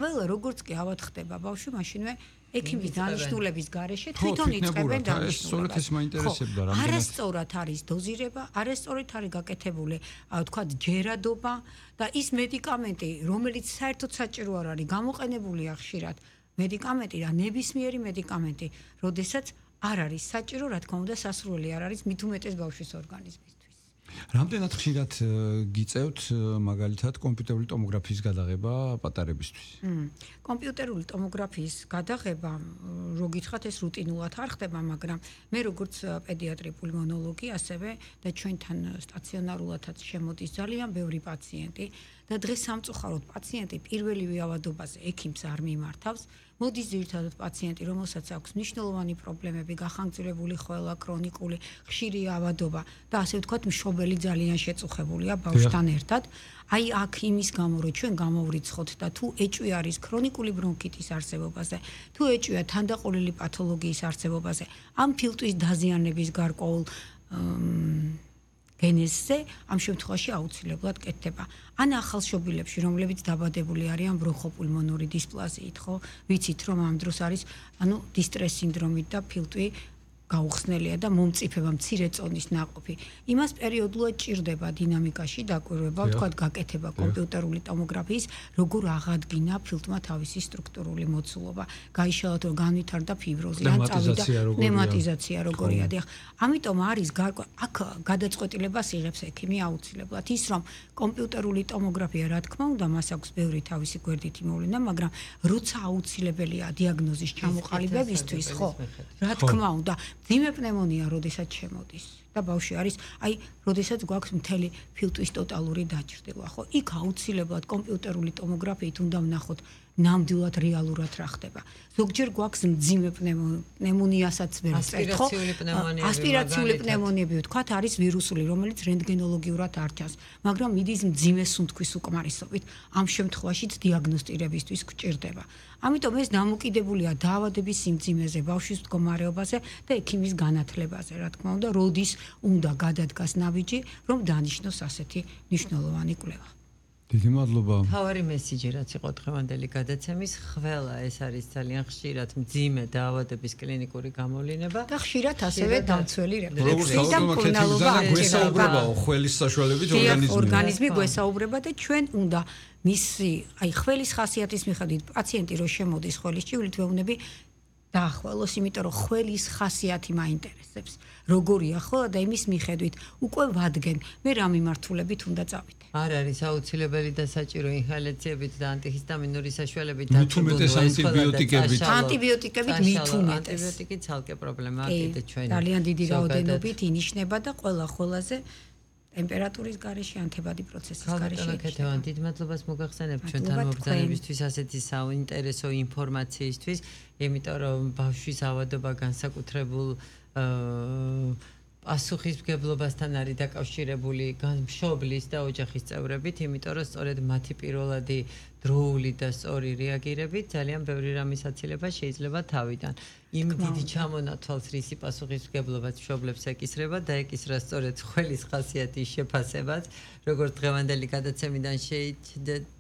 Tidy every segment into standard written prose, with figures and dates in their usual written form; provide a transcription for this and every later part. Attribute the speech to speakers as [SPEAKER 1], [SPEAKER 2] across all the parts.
[SPEAKER 1] ყველა როგორც კი ავად ხდება ბავშვი, მაშინვე ექიმის დანიშნულების გარეშე თვითონ იწყებენ დანიშნულებას.
[SPEAKER 2] სწორედ ეს მაინტერესებდა რამდენად.
[SPEAKER 1] არასწორად არის დოზირება, არასწორად არის გაკეთებული, თქვა ჯერადობა და ის მედიკამენტი, რომელიც საერთოდ საჭირო არ არის გამოყენებულია ხშირად, მედიკამენტი და ნებისმიერი მედიკამენტი, როდესაც არ არის საჭირო, რა თქმა უნდა, სასურველი არ არის მით უმეტეს ბავშვის ორგანიზმისთვის.
[SPEAKER 2] რამდენად ხშირად გიწევთ მაგალითად კომპიუტერული ტომოგრაფიის გადაღება პატარებისთვის?
[SPEAKER 1] კომპიუტერული ტომოგრაფიის გადაღება, რო გითხრათ, ეს რუტინულად არ ხდება, მაგრამ მე როგორც პედიატრი პულმონოლოგი, ასევე და ჩვენთან სტაციონარულადაც შემოდის ძალიან ბევრი პაციენტი და დღეს სამწუხაროდ პაციენტი პირველივე ავადობაზე ექიმს არ მიმართავს. მოდის ძირითადად პაციენტი, რომელსაც აქვს მნიშვნელოვანი პრობლემები, გახანგრძლივებული ხველა, ქრონიკული, ხშირი ავადობა და ასე ვთქვათ, მშობელი ძალიან შეწუხებულია ბავშვთან ერთად. აი აქ იმის გამო, რომ ჩვენ გამოვრიცხოთ და თუ ეჭვი არის ქრონიკული ბრონქიტის არსებობაზე, თუ ეჭვია თანდაყოლილი პათოლოგიის არსებობაზე, ამ ფილტვის დაზიანების გარკვეულ გენეზზე ამ შემთხვევაში აუცილებლად კეთდება. ან ახალშობილებში, რომლებიც დაბადებული არიან ბრონხოპულმონური დისპლაზიით, ხო? ვიცით, რომ ამ დროს არის, დისტრეს სინდრომით და ფილტვი გაუხსნელია და მომწიფება მცირე წონის ნაყოფი. იმას პერიოდულად ჭირდება დინამიკაში დაკვირვება, ვთქვათ, გაკეთება კომპიუტერული ტომოგრაფიის, როგორ აღადგინა ფილტვმა თავისი სტრუქტურული მოცულობა, გაიშალათ, რომ განვითარდა ფიბროზი, ან წავიდა ნემატიზაცია როგორია. ამიტომ არის აქ გადაწყვეტილებას იღებს ექიმი აუცილებლად. ის რომ კომპიუტერული ტომოგრაფია, რა თქმა უნდა, მას აქვს ბევრი თავისი გვერდითი მოვლენა, მაგრამ როცა აუცილებელია დიაგნოზის ჩამოყალიბებისთვის, ხო, რა თქმა უნდა, ძიმე პნევმონია როდესაც შემოდის და ბავშვი არის, აი, როდესაც გვაქვს მთელი ფილტვის ტოტალური დაჭრდილა, ხო? იქ აუცილებლად კომპიუტერული ტომოგრაფიით უნდა ვნახოთ ნამდვილად რეალურად რა ხდება. ზოგჯერ გვაქვს მძიმე პნევმონიასაც ვერ ვწერთ, ხო? ასპირაციული პნევმონიები, ვთქვათ, არის ვირუსული, რომელიც რენტგენოლოგიურად არ ჩანს, მაგრამ მიდის მძიმე სუნთქვის უკმარისობით. ამ შემთხვევაშიც დიაგნოსტირებისთვის გვჭირდება. ამიტომ ეს დამოკიდებულია დაავადების სიმძიმეზე, ბავშვის მდგომარეობაზე და ექიმის განათლებაზე, რა თქმა უნდა, როდის უნდა გადადგას ნაბიჯი, რომ დანიშნოს ასეთი მნიშვნელოვანი კვლევა.
[SPEAKER 2] დიდი მადლობა.
[SPEAKER 3] თავარი მესიჯი რაც იყო დღევანდელი გადაცემის, ყველა ეს არის ძალიან ხშირად მძიმე დაავადების კლინიკური გამოვლინება
[SPEAKER 1] და ხშირად ასევე დამცველი რეფლექსი და
[SPEAKER 2] მკურნალობა გვესაუბრებაო ხველის საშუალებით
[SPEAKER 1] ორგანიზმი გვესაუბრება და ჩვენ უნდა მისი, აი ხველის ხასიათის მიხედვით პაციენტი რო შემოდის ხველის ჭივლით ვეუბნები დაახვალოს, იმიტომ რომ ხველის ხასიათი მაინტერესებს. როგორია ხველა და იმის მიხედვით უკვე ვადგენ, მე რა მიმართულებით უნდა წავიდე.
[SPEAKER 3] არ არის აუცილებელი და საჭირო ინჰალაციებით და ანტიჰისტამინური საშუალებით
[SPEAKER 2] მithumetes ანტიბიოტიკებით.
[SPEAKER 1] ანტიბიოტიკებით მithumetes.
[SPEAKER 3] ანტიბიოტიკი ცალკე პრობლემაა კიდე ჩვენი.
[SPEAKER 1] ძალიან დიდი რაოდენობით ინიშნება და ყველა ხოლაზე ტემპერატურის გარეშე ანთებადი პროცესის გარეშე.
[SPEAKER 3] კეთევან დიდ მადლობას მოგახსენებ ჩვენთან მობრძანებისთვის ასეთი საინტერესო ინფორმაციისთვის, იმიტომ რომ ბავშვის ავადობა განსაკუთრებულ პასუხისმგებლობასთან არის დაკავშირებული მშობლის და ოჯახის წევრებით, იმიტომ რომ სწორედ მათი პირველადი დროული და სწორი რეაგირებით ძალიან ბევრი რამის აცილება შეიძლება თავიდან. იმ დიდი ჩამონათვალს რისი პასუხისმგებლობაც მშობლებს ეკისრება და ეკისრა სწორედ ხველის ხასიათის შეფასებაც, როგორც დღევანდელი გადაცემიდან შეიძლება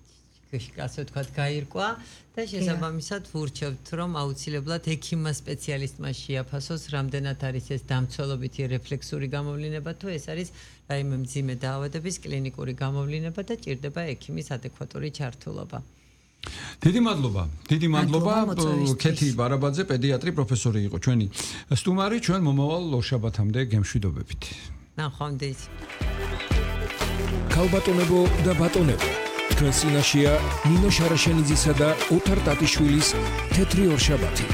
[SPEAKER 3] ასე ვთქვათ, გაირკვა და შესაბამისად ვურჩევთ, რომ აუცილებლად ექიმმა სპეციალისტმა შეაფასოს, რამდენად არის ეს დამცველობითი რეფლექსური გამოვლინება, თუ ეს არის რაიმე მძიმე დაავადების კლინიკური გამოვლინება და ჭირდება ექიმის ადეკვატური ჩართულობა.
[SPEAKER 2] დიდი მადლობა. დიდი მადლობა. ქეთი ბარაბაძე, პედიატრი, პროფესორი იყო ჩვენი სტუმარი, ჩვენ მომავალ ორშაბათამდე გემშვიდობებით.
[SPEAKER 3] ნახვამდის.
[SPEAKER 4] ქალბატონებო და ბატონებო, თქვენ წინაშეა ნინო შარაშენიძისა და ოთარ ტატიშვილის თეთრი ორშაბათი.